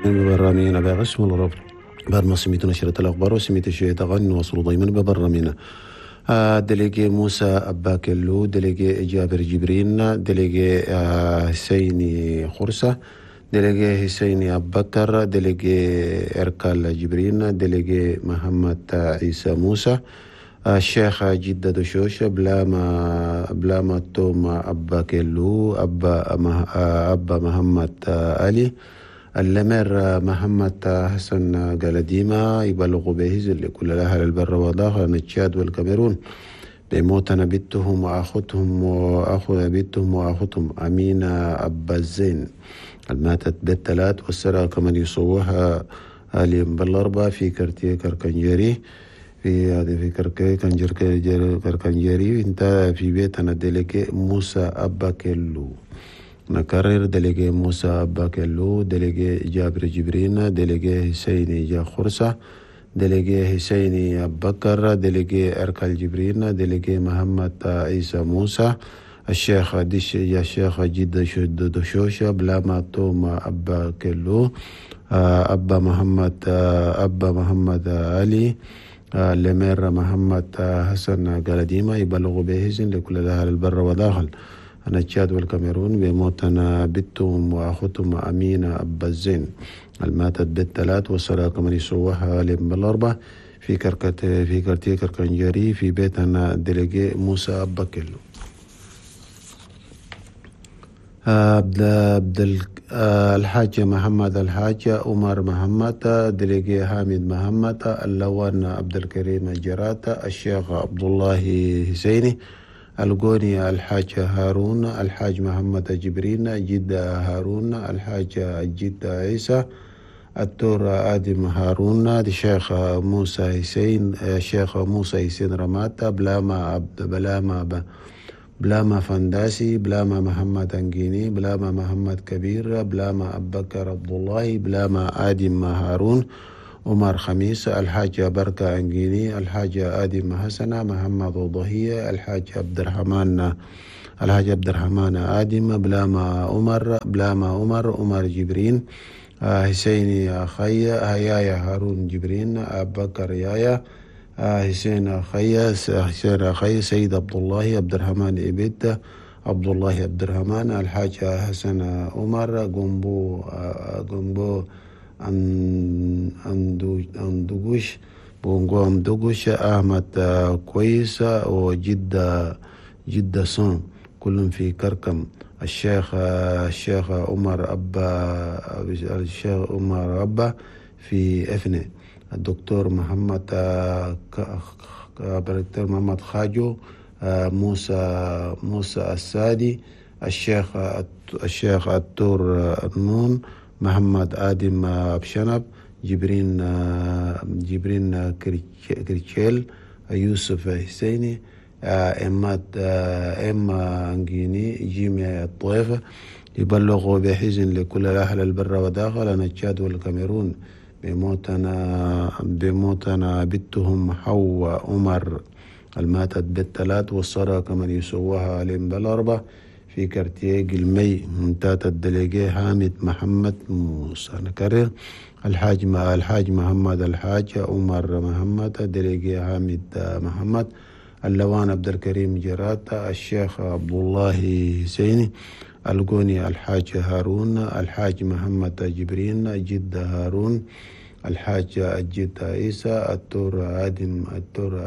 ببرامينا بقسم الربط بعد ما سميت نشرة الأخبار وسميت شوية أغاني نوصل دايما ببرامينا. délégué موسى أباكلو، délégué جابر جبرين، délégué حسيني خرسة، délégué حسيني أبكر، délégué إركال جبرين، délégué محمد عيسى موسى، الشيخ جدة دشوش، بلاما توم أباكلو، أبا محمد علي، le maire محمد حسن قلديمة. يبلغ به لكل الأهل البر والداخل تشاد والكاميرون بموتنا بنتهم وأخوتهم وأخو بنتهم وأخوتهم أمينة أبا الزين الماتت بالثلاث والسرى كمان يصوها اليوم بالأربعة في quartier كركنجري في هذه في كركنجري انت في بيتنا délégué موسى أبا كيلو. نكرر délégué موسى أبا كيلو، délégué جابر جبرين، délégué حسيني جا خرسة، délégué حسيني أبكر، délégué أركال جبرين، délégué محمد عيسى موسى، الشيخ دش يا الشيخ جد دشوشة، بلاما توم أبا كيلو، أبا محمد أبا محمد علي، le maire محمد حسن قلديمة. يبلغ بهزن لكل الأهل البر وداخل أنا تشاد والكاميرون بموتنا بنتهم وأخوتهم أمينة أبا الزين الماتت بالثلاث والصلاة كمان يسوها بالأربع في كركة في quartier كركنجري في بيتنا délégué موسى أبا كيلو. عبد الحاج محمد الحاج عمر محمد، délégué حامد محمد، اللوان عبد الكريم جرات، الشيخ عبد الله حسيني، القوني الحاج هارون، الحاج محمد جبرين، جد هارون، الحاج جد عيسى، التور آدم هارون، الشيخ موسى حسين، الشيخ موسى حسين رماتا، بلاما عبد بلاما بلاما فنداسي، بلاما محمد أنجيني، بلاما محمد كبير، بلاما أبكر عبد الله، بلاما آدم هارون، عمر خميس، الحاج بركة أنجيني، الحاج آدم حسنة، محمد ضهية، الحاج عبد الرحمن، الحاج عبد الرحمن آدم، بلاما عمر، بلاما عمر، عمر جبرين، حسيني أخي، هيايا هارون جبرين، أبكر يايا، حسين أخي، حسين أخي، سيد عبد الله، عبد الرحمن إبد، عبد الله عبد الرحمن، الحاج حسن عمر، قنبو قنبو أندوغوش بونغو أندوغوش، أحمد كويس، وجدة جدة صون، كلهم في كركم. الشيخ عمر أبا، الشيخ عمر أبا في إفني، الدكتور محمد الدكتور محمد خاجو، موسى السادي، الشيخ التور النون، محمد آدم أبشنب، جبرين كريتشيل، يوسف حسيني، إما أنجيني، جيمي الطيفة. يبلغوا بحزن لكل الأهل البر وداخل تشاد والكاميرون بموتنا بنتهم حواء عمر الماتت بالثلاث والصرا كمان يسوها عليهم بالأربع في quartier المي منتات ال délégué حامد محمد موسى. نكرر الحاج محمد الحاج عمر محمد، délégué حامد محمد، اللوان عبد الكريم جرات، الشيخ عبد الله حسيني، القوني الحاج هارون، الحاج محمد جبرين، جد هارون، الحاج الجد عيسى، التور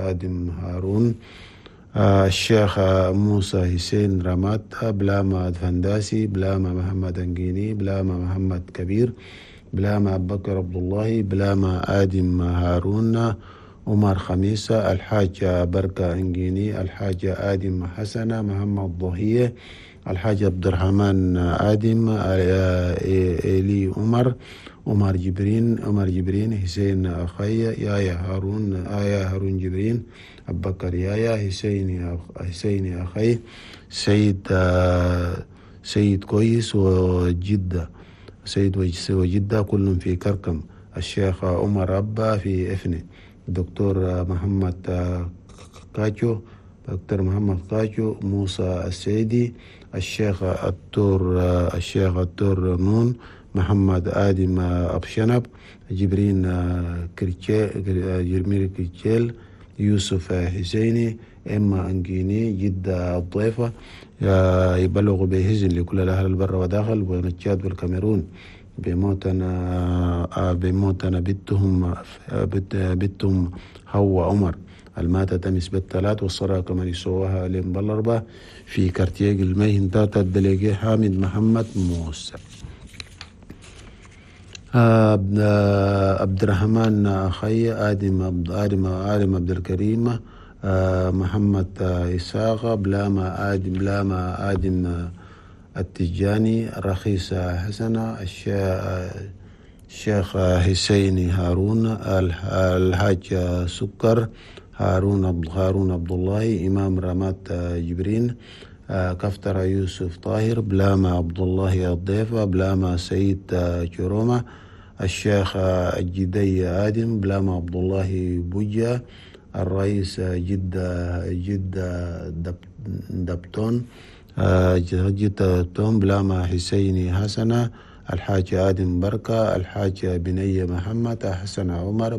آدم هارون، الشيخ موسى حسين رمات، بلاما فنداسي، بلاما محمد أنجيني، بلاما محمد كبير، بلاما بكر عبد الله، بلاما آدم هارون، عمر خميسة، الحاج بركة أنجيني، الحاج آدم حسنة، محمد ضهية، الحاج عبد الرحمن آدم، إلي عمر، عمر جبرين، حسين أخي، يايا هارون، آيا هارون جبرين، أبكر يايا، حسين أخي، سيد كويس وجدة، سيد وجدة كلهم في كركم. الشيخ عمر أبا في إفني، دكتور محمد كاجو، دكتور محمد كاجو، موسى السيدي، الشيخ التور نون، محمد آدم أبشنب، جبرين جرمير كريتشيل، يوسف حسيني، إما أنجيني، جدة الضيفة. يبلغ بهزن لكل الأهل البر وداخل ونتشاد والكاميرون بموتنا بنتهم هو عمر الماتت أمس بالثلاث، والصلاة كمان يسووها لهم بالأربعة في كارتيج الميهن تاتا الدليجي حامد محمد موسى. عبد الرحمن أخي، آدم آدم آدم عبد الكريم، محمد إساق، بلاما آدم، بلاما آدم التجاني، رخيصة حسنة، الشيخ حسين هارون، الحاج سكر، هارون عبد الله، إمام رمات جبرين، كفتر يوسف طاهر، بلاما عبد الله الضيفة، بلاما سيد جرومة، الشيخ الجدي آدم، بلاما عبد الله بوجة، الرئيس جدة دبتون، جدة دبتون، بلاما حسيني حسنة، الحاج آدم بركة، الحاج بنية محمد، حسن عمر،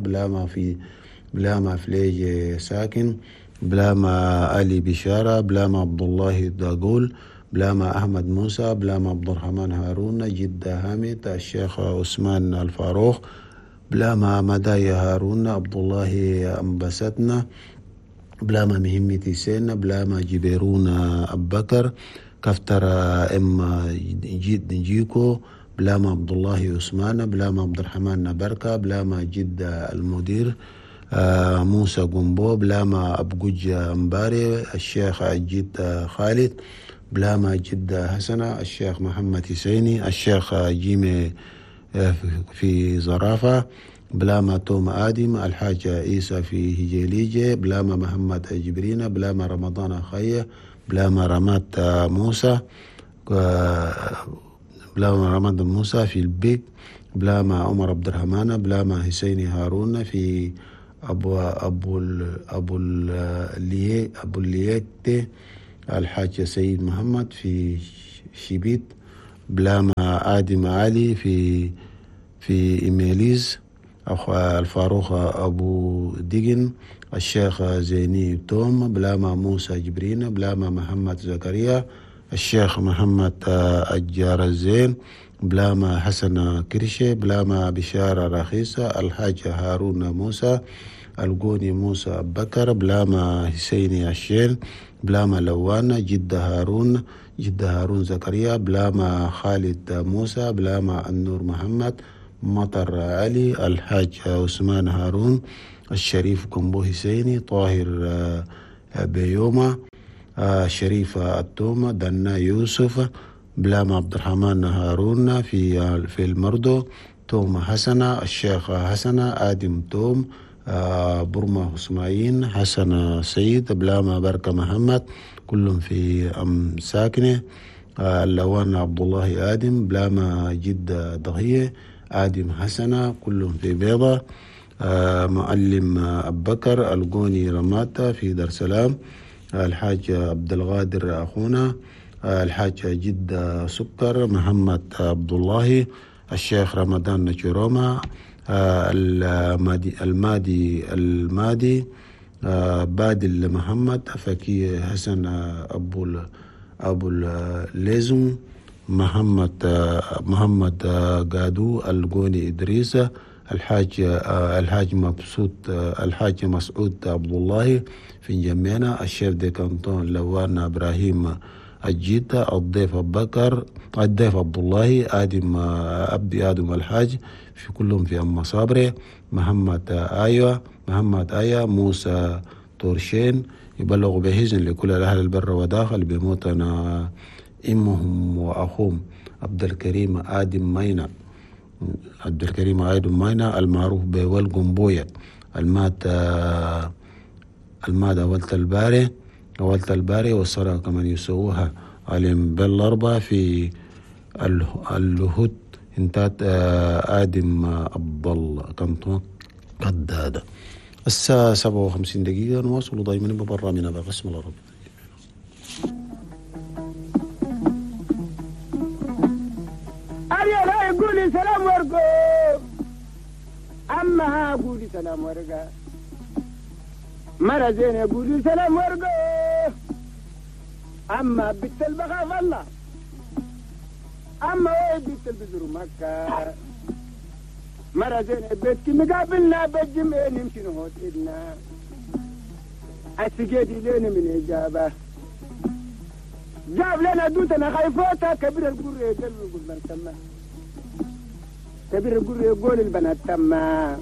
بلاما فليج ساكن، بلاما علي بشارة، بلاما عبد الله داقول، بلاما أحمد موسى، بلاما عبد الرحمن هارون، جدة حامد، الشيخ عثمان الفاروق، بلاما مدايا هارون، عبد الله أنبستنا، بلاما مهمتي سين، بلاما جبيرون أبكر، كفتر إما جيكو، بلاما عبد الله عثمان، بلاما عبد الرحمن بركة، بلاما جدة المدير موسى قنبو، بلاما أبجوج أمباري، الشيخ جد خالد، بلاما جدة حسنة، الشيخ محمد حسيني، الشيخ جيمي في زرافة، بلاما توم آدم، الحاج عيسى في هجيليجي، بلاما محمد جبرين، بلاما رمضان خية، بلاما رمات موسى، بلاما رمضان موسى في البيك، بلاما عمر عبد الرحمن، بلاما حسيني هارون في أبو أبو أبو أبو الليكتي، الحاج سيد محمد في شبيت، بلاما آدم علي في إيميليز، الفاروق أبو ديجن، الشيخ زيني توم، بلاما موسى جبرين، بلاما محمد زكريا، الشيخ محمد الجار الزين، بلاما حسن كرشي، بلاما بشارة رخيصة، الحاج هارون موسى، القوني موسى بكر، بلاما حسيني الشين، بلاما لوان، جدة هارون، جدة هارون زكريا، بلاما خالد موسى، بلاما النور محمد، مطر علي، الحاج عثمان هارون، الشريف كومبو حسيني، طاهر بيوما، شريف التومة، دنا يوسف، بلاما عبد الرحمن هارون في المردو، توم حسنة، الشيخ حسنة، آدم توم، برما اسماعيل، حسن سيد، بلاما بركة محمد، كلهم في أم ساكنة، اللوان عبد الله آدم، بلاما جدة ضهية، آدم حسنة، كلهم في بيضة، معلم أبكر، القوني رماتا في دار سلام، الحاج عبد الغادر أخونا، الحاج جدة سكر، محمد عبد الله، الشيخ رمضان نجروما، المادي بادل محمد، فكي حسن أبو الليزم، محمد قادو، القوني إدريس، الحاج مبسوط، الحاج مسعود عبد الله في جميعنا، الشيف دي كانتون لوان إبراهيم الجيتا، الضيف بكر، الضيف عبد الله، آدم عبدي آدم الحاج، في كلهم في أم صابري، محمد آية، موسى تورشين، يبلغ بهزن لكل الأهل البر وداخل بموتنا إمهم وأخوهم عبد الكريم آدم مينا، عبد الكريم آدم مينا المعروف بول قنبوية، المات أولت الباري والصلاة كمان يسووها علم بالأربعة في اللهود انتات آدم عبد الله كنتون قدادة. الساعة 57 نواصل دائما ببرنامجنا بقسم العربي. يقول قولي سلام ورقو أما قولي سلام ورقا مرة زينة قولي سلام ورقو أما بنت البخاف الله أما وين بنت البزر مكة مرة زينة بيتك مقابلنا بالجمع نمشي نهوت إدنا السجادي لين من إجابة جاب لنا دوتنا خايفوتا كبير القر يقول من تما كبير القر يقول البنات تما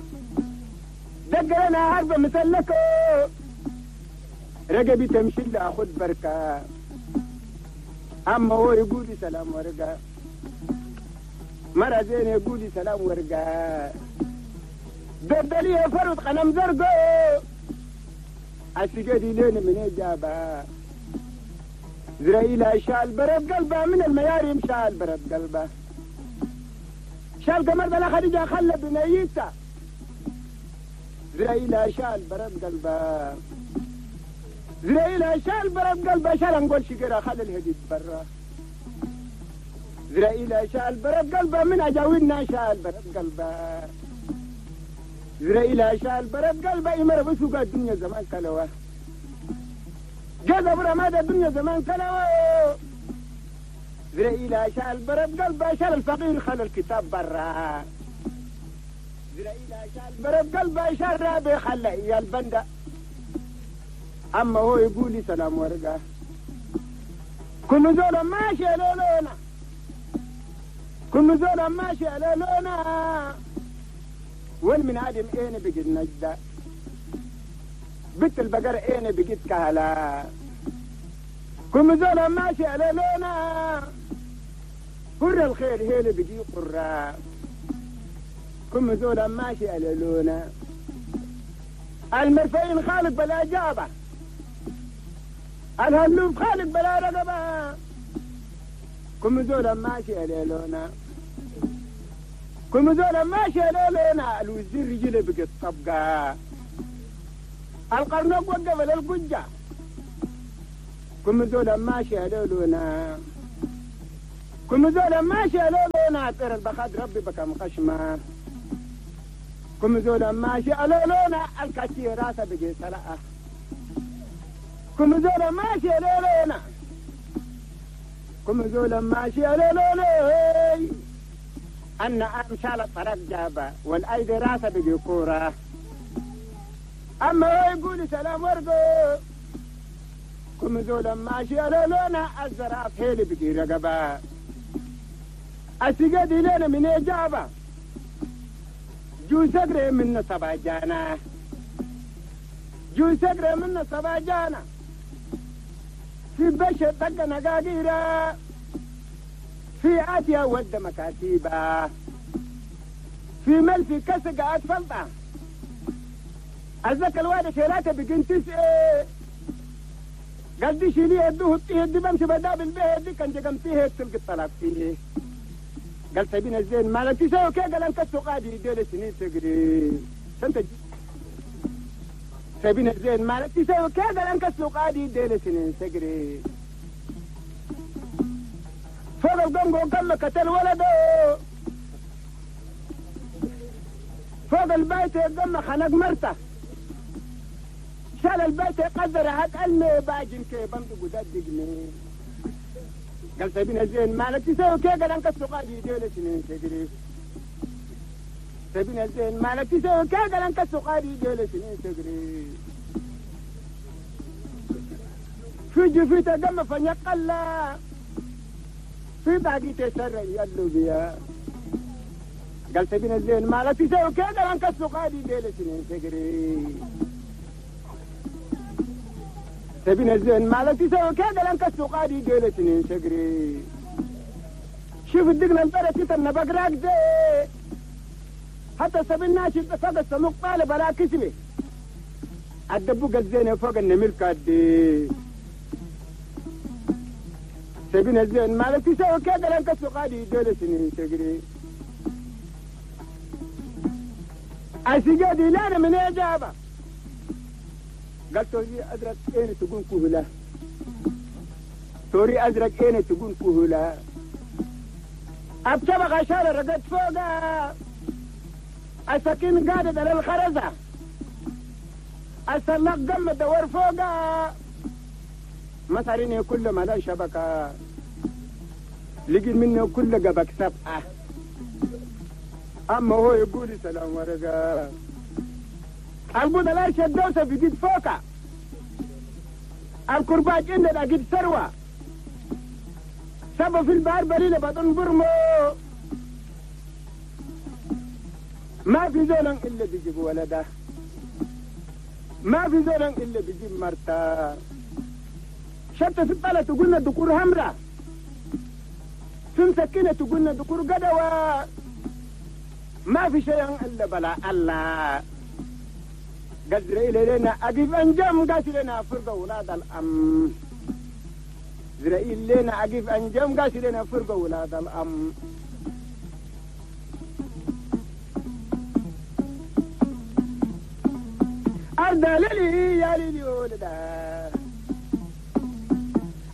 دق لنا عربة مسلكو رقبي تمشي لأخذ بركة أما هو يقول سلام ورقة مرة زين يقول سلام ورقة دردلي فرد قلم زرقو السجادي لين من إجابة زرائيل شال برد قلبه من المياريم شال برد قلبه شال قمر بلا خديجة خلى بنيته زرائيل شال برد قلبه زرائيل شال برد قلبه شال نقول شقرة خلى الهديد برا زرائيل شال برد قلبه من أجاوينا شال برد قلبه زرائيل شال برد قلبه يمر بسوق الدنيا زمان كلوه جذب رماد الدنيا زمان كلوه زرائيل شال برد قلبه شال الفقير خلى الكتاب برا زرائيل شال برد قلبه شال رابي خلى يا البندة أما هو يقول لي سلام ورقة كل زول ماشي لولونا كل زول ماشي لولونا والمن عدم اين بقيت نجدة بنت البقر اين بقيت كهلا كل زول ماشي لولونا قر الخير هيل بقي قرة كل زول ماشي لولونا المرفين خالق بلا جابه الهلوب خالق بلا رقبة كم زول ماشي لولونا كم زول ماشي لولونا الوزير رجله بقت طبقة القرنوق وقف للقجة كم زول ماشي لولونا كم زول ماشي لولونا طير البخاد ربي بكم خشمة كم زول ماشي لولونا الكاتي راسه بقي سلقة كم زول ماشي لولونا كم زول ماشي لولونا أن أمشال الطرف جابة والأيدي راسه بقي كورة أما هو يقول سلام ورقو كم زول ماشي لولونا الزراف هيلي بقي رقبة السجاد لنا من إجابة جو سقري من سبع جانا جو سقري من سبع جانا في بشر طق نقاقيرة في آتيا ود مكاتيبة في مل في كسقة أتفلطة الزكا الواد شيلاته بقين تسعة قال دي شيلي يدوه دي بمشي بدابل بيه دي كان جقمتيه تلقي الطلاق فيه قال سبينا الزين مالك تسوي كي قال انت السوقادي ديل سنين تقري سنت سبينا الزين مالك تسوي كي قال انت السوقادي ديل سنين تقري فوق القنقو كم قتل ولده فوق البيت قم خنق مرته شال البيت قدر هات المي باجن كي بمدق ودقني قال سبينا زين مالك تسوي كي قال انك السوقادي ديل سنين تقري سبينا زين مالك تسوي كي قال انك السوقادي ديل سنين تقري في جفيته دم فنيقلا في باقي تسرع يلو بيا قال سبينا زين مالك تسوي كي قال انك السوقادي ديل سنين تقري سبينا الزين مالك تسوي كي قال انك السوقادي ديل سنين تقري شوف الدقن البرة تتنا بقراك دي حتى سبيل ناشد فوق السموق طالب بلا كسبي الدبوق الزين فوق النمل كادي سبينا الزين مالك تسوي كي قال انك السوقادي ديل سنين تقري السجادي لا من إجابة قال توري أزرق إين تقول كهلا توري أزرق إين تقول كهلا أبتبغ عشان رقد فوقها السكين قادت على الخرزة السلاق قم الدور فوقها مساريني كل ما لا شبكة لقي منه كل قبك سبعة أما هو يقول سلام ورقة البوضة لا شدوسة في قد فوقها الكرباج عندنا قد ثروة سبب في البحر بريلة بطن برمو ما في زول إلا بيجيب ولده ما في زول إلا بيجيب مرته شتى في الطلة تقولنا دكور همرة في مسكينة تقولنا دكور قدوة ما في شيء إلا بلا الله قدر إلينا أقف أنجم قاسلنا فرقة ولاد الأم إسرائيل لنا أقف أنجم قاسلنا فرقة ولاد الأم أرض للي يا للي ولدا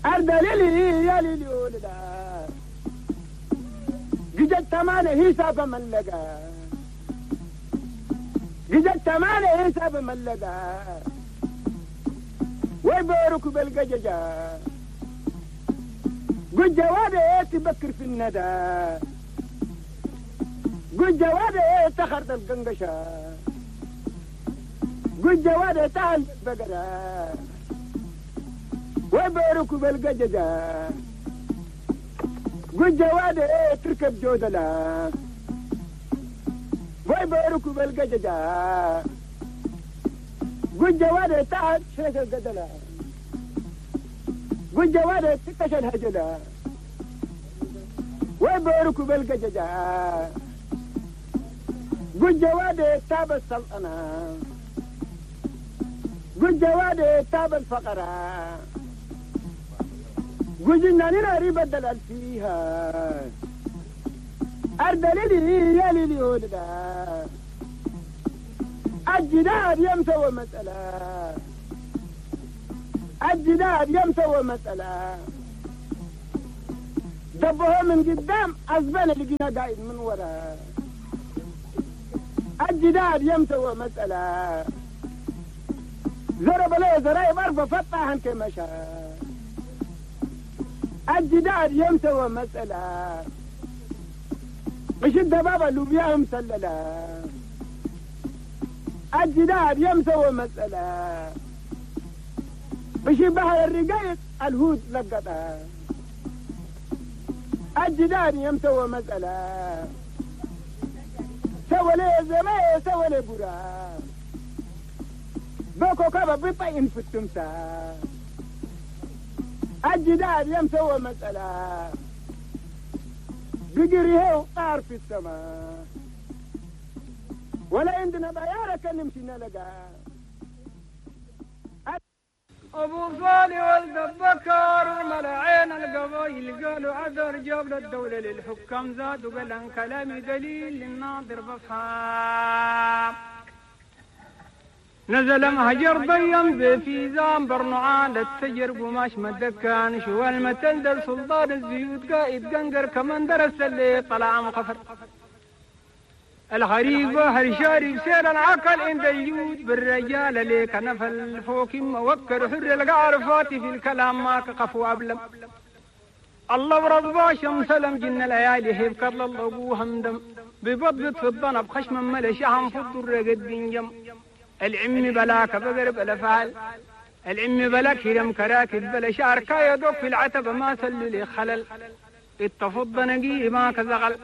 أرض للي يا للي ولدا جدت تمانة حساب من لقى جدت تمانة حساب من لقى ويبارك بالقججة قل جوابي تبكر في الندى قل جوابي تخرط القنقشة قل جوابي تعال البقرة ويبارك بالقججة قل جوابي تركب جودلة ويبارك بالقججة قل جوابي تعال شرك القدلة قل جوابي تكش الهجلة ويبارك بالقججة قل جوابي تاب السلطنة قل جوابي تاب الفقرة قل جناننا ريب الدلال فيها أرض للي يا للي ولدا الجدار يمسوى مسألة الجدار يمسوى مسألة دبوها من قدام أزبنا لقينا قاعد من ورا الجدار يمسوى مسألة زرب له زرايب أربع فتحن كمشى الجدار يمسوى مسألة مش الدبابة لوبيا مسللة الجدار يمسوى مسألة مش بحر الرقايق الهود لقطها الجدار يمسوى مسألة سوى لي زمان سوى لي برا بوكو كابا بيطين في التمساح الجدار يمسوى مسألة بقريه وطار في السماء ولا عندنا بيارة كان نمشي نلقى أبو صالح ولد بكر ملعين القبايل قالوا عذر جاب للدولة للحكام زاد وقال عن كلامي دليل للناظر بفهم نزل مهجر ضيم في زام برنعان التجر قماش مدكان شو المتل در سلطان الزيوت قائد قنقر كمان درس اللي طلع مقفر الغريب بحر شارب سير العقل عند الجود بالرجال ليك نفل فوق موكر حر القعر فاتي في الكلام ما كقفو أبلم الله ورضا شمس لم جن ليالي هيب كرل الله همدم ببضبط في الضنب خشم ملشهم في الضر قد بنجم العم بلاك بقر بلا فعل العم بلا كرم كراكب بلا شعر كايدوك في العتبة ما سللي خلل اتفض نقي ما كزغل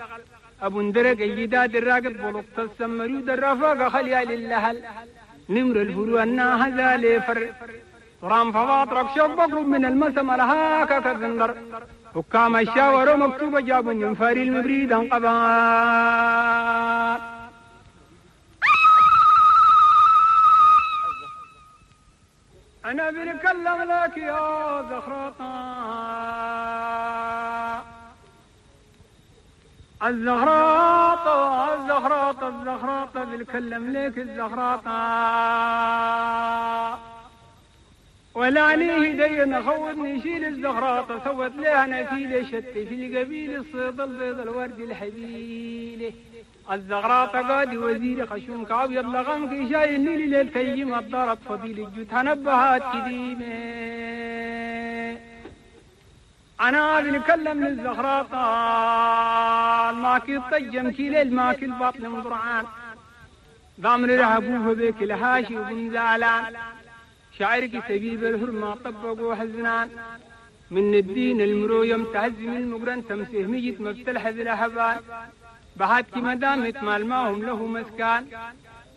ابو اندرق الجداد الراقب بلقط السمرود الرفاقة خليا للهل نمر الفروع الناهزة لفر رام فواطرك شوق بقرب من المسم لهاك كالزندر حكام الشاور مكتوبة جابوا من فاري المبريد انقبان. أنا بنكلم لك يا زخرطة الزغراطة الزغراطة الزغراطة بنكلم لك الزغراطة. ولا ليه دي نخوض نشيل الزغراطة سوت لها نفيلة شت في القبيل الصيد البيض الورد الحبيلة الزغراطة قادي وزير خشوم كعبيض لغمك شايل نيلي للتيم الضرب فضيل الجود هنبهات كديمة. أنا بنكلم للزغراطة الماكي الطجم كيلي الماكي البطن مضرعان ضامن رهبوه بك الهاشي وبن زعلان شعرك سبيب الهرمة طبقوا حزنان من الدين المرويم تهزم المقرن تمسه ميت مبتلحز الأحبان بحاتك مدامت مال ماهم له مسكان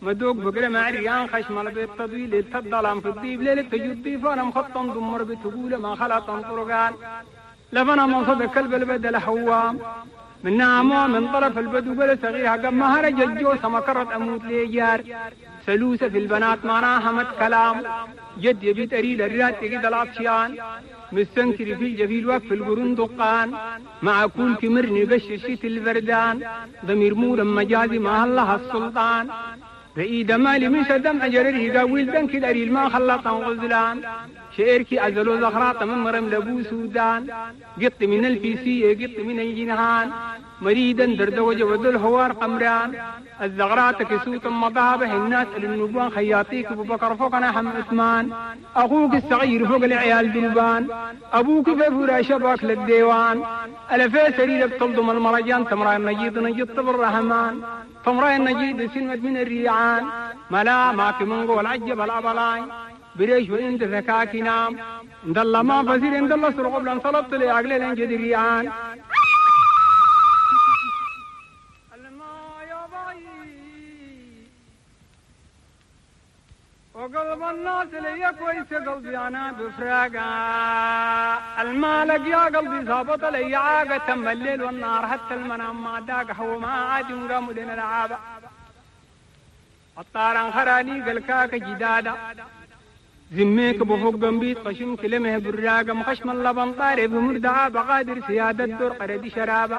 مدوق بقرة مع ريان خشم البيت تضويل التضلام في الضيب ليلة تجد ضيفانا مخطن ضمر بتقول ما خلطن طرقان لبنا منصب كلب البدل حوام من نعمة من طرف البدو بلا صغيرها قم هرج الجوسة ما كرت أموت ليجار سلوسة في البنات معناها مت كلام جد يبيت أريل الرات تجد العطشان مستنكر في الجفيل وقف القرون دقان مع كل كمرني بششيت البردان ضمير مورا مجازي مع الله السلطان بإيد مالي من شدم أجرره قاويل بنك الأريل ما خلطان غزلان شعركي أزلو زخراط من مرم لبو سودان قط من الفيسية قط من الجنهان مريدا دردوج وذو الهوار قمران الزغرات كسوت مضابح الناس للنبوان خياطيك ابو بكر فوقنا حم عثمان اخوك الصغير فوق العيال دلبان ابوك في فراشة باك للديوان الفي سرير بتلضم المرجان تمرا النجيد نجيد طب الرحمن تمرا النجيد سلمت من الريعان ملا ماك من قول عجب الابلاين بريش وانت ذكاك نام اند الله ما فزير اند الله سرق قبل ان صلبت لي عقلي لنجد الريعان وقلب الناس لي كويس قلبي انا بفراقه المالك يا قلبي ظابط لي عاقه تم الليل والنهار حتى المنام ما داق هو ما عاد قاموا لنا العابه الطاران خراني قلكاك جداده زميك بفوق قنبيت خشم كلمه براقه مخشم اللبن طارب مردعه بقادر سياده الدور قردي شرابه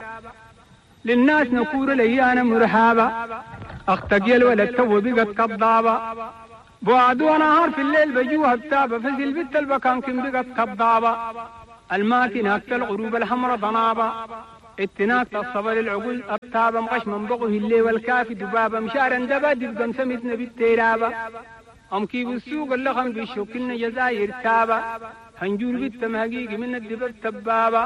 للناس نكور لي انا مرحابه اختقيل ولا تو بقت كضابه بعد ونهار في الليل بجوها بتابة فزل بنت البكان كم بقت كضابة الماكن هكت الغروب الحمرة ضنابة اتناك الصبر العقول أبتابة مغش من بقه الليل والكافي دبابة مشارا دبا دبقا سمتنا بالتيرابة أم كيف السوق اللخم بالشوكلنا جزاير تابة هنجور بالتم حقيقي من الدبب تبابة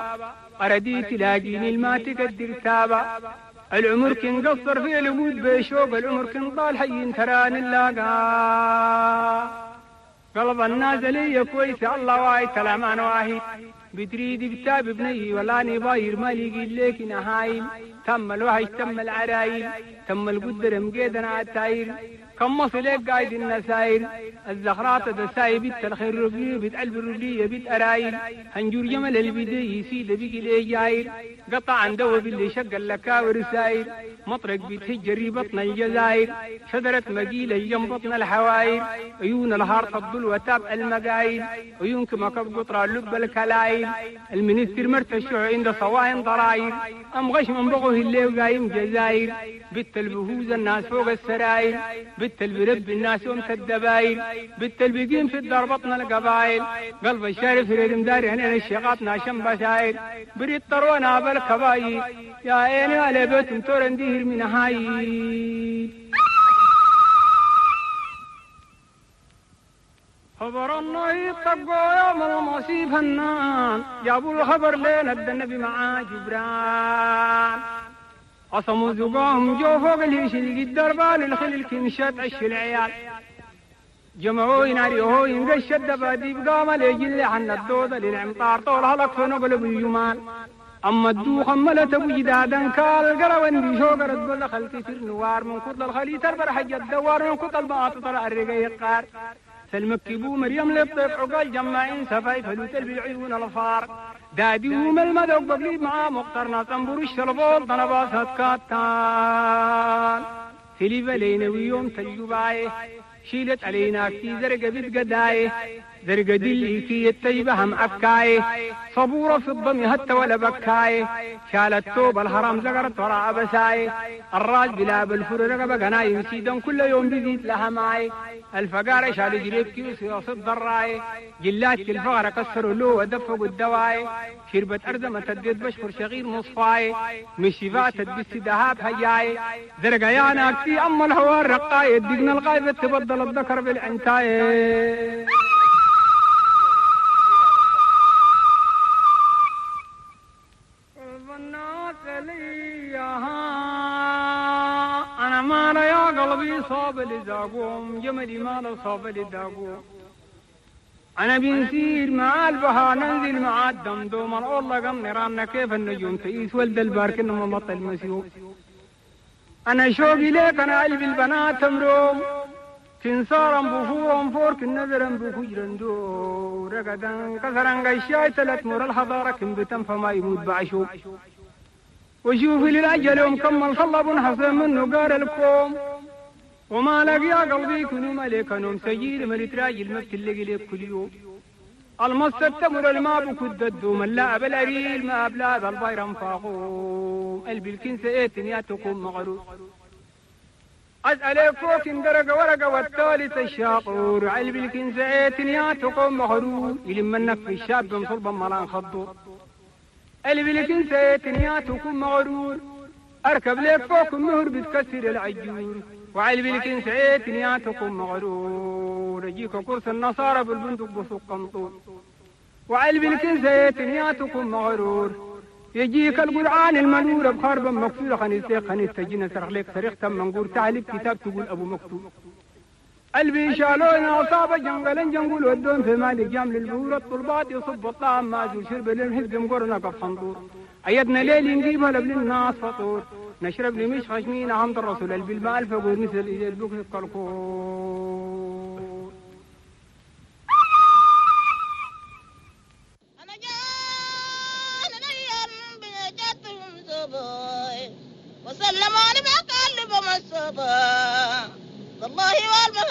أردي تلاقيني الماتك الدرتابة العمر كن قصر في الوجود بشوق العمر كن طال حي تراني اللاقا قلب الناس لي كويس الله واعي كلام انا واحد بتريد كتاب بني ولا نباير مالي قيل لك نهايل تم الوحش تم العرايل تم القدر مقيدنا على التاير كم مصلك قايد النساير الزخرات دساي بيت الخير ربي بيت قلب الرجلية بيت أرايل هنجور جمل البدي يسيد بيك الإجاير قطع عن دو باللي شق اللكاور ساير مطرق بيت هجري بطن الجزائر شجرة مقيلة جنب بطن الحواير عيون الهار تفضل وتابع المقايل عيون كما كب قطرة لب الكلايل المنستر مرتشع عند صواهن ضراير أم غش من بغه اللي وقايم جزاير بت البهوز الناس فوق السراير بت البرب الناس ومت الدبايل بت البقيم في الدار بطن القبايل قلب الشارف ريد مداري هنا الشيقات ناشم بساير بريد طرونا بالكبايل يا عيني على بيت تورن دير من هاي خبر النهي طقوا يوم المصيب فنان جابوا الخبر لين النبي مع جبران قصموا زقاهم جو فوق الهش القدر بال الخل الكنشات عش العيال جمعوا يناريهو ينقش الدباديب قام ليجل عن الدودة للعمطار طول هلك فنقلب الجمال أما الدوخ ملت أبو جدادا كال قروان دي شوقرت بل خلتي سر نوار من كتل الخلي تربر حج الدوار من كتل باطل الرقي القار سلمكبو مريم للطيف عقال جماعين سفاي فلوت العيون الفار دادي ومل المدوق بقليب مع مقترنا تنبر الشربول ضنباسات كاتان سليفة لينوي يوم تجبايه شيلت علينا في زرقة بتقداي زرقة دلي في التيبة هم أكاي صبورة في الضم هت ولا بكاي شالت توب الحرام زقرت وراء بساي الراج بلا بالفر رقبة قناي سيدا كل يوم بزيد لها ماي الفقارة شالوا جريب كيوس الضراي جلات الفقرة كسروا له ودفقوا الدواي شربت أرزمة تديت بشكر شغير مصفاي مشي فاتت بس ذهاب هياي زرقة يا ناكسي أما الهوى الرقاي دقنا الغايبة تبدل الذكر بالعنتاي. أنا ما يا قلبي صاب لزاقوم جملي ما صاب لداقوم أنا بنسير مع البها ننزل مع الدمدوم الله قم نيراننا كيف النجوم تقيس ولد البارك إنه مبطل المسيوم أنا شوقي ليك أنا قلبي البنات مروم تنصارا بفورا فورك النذرا بفجرا دو رقدا كسرا قشاي تلت مر الحضارة كم بتم فما يموت بعشوم وشوفي للأجل يوم كمل صلب حصن منه قار الكوم وما لقي يا قلبي كنو ملك نوم سجيل ملك راجل ما بتلقي لك كل يوم المص التمر الماء بكد الدوم اللاعب الأريل ما أبلاد البيرم فاقوم قلبي الكنسة ايتن يا تقوم مغرور أسألك فوق درجة ورقة والثالث الشاطور قلبي الكنسة ايتن يا تقوم مغرور يلم النف الشاب مصربا ملان خضور قلبي الكنسة ايتن يا تقوم مغرور أركب لك فوق النهر بتكسر العجور وعلبي الكنسة ايتن يا تقوم مغرور يجيك كرس النصارى بالبندق بسوق قنطور وعلبي الكنسة ايتن يا تقوم مغرور يجيك القرآن المنور بخرب مكسور خنيسة خنيسة جينا سرق لك سرقة منقور تعليق كتاب تقول أبو مكتوب قلبي شالونا أصاب جنجلا جنجول ودون في مالك جام للبور الطلبات يصب الطعام ماجور شرب للحزب مقرنا قف حنطور أيدنا ليل نجيبها لبل الناس فطور نشرب لمش خشمين عمد الرسول قلبي الماء الفقور مثل البكر الكركور. وسلموني بقلب مصطفى والله والمهم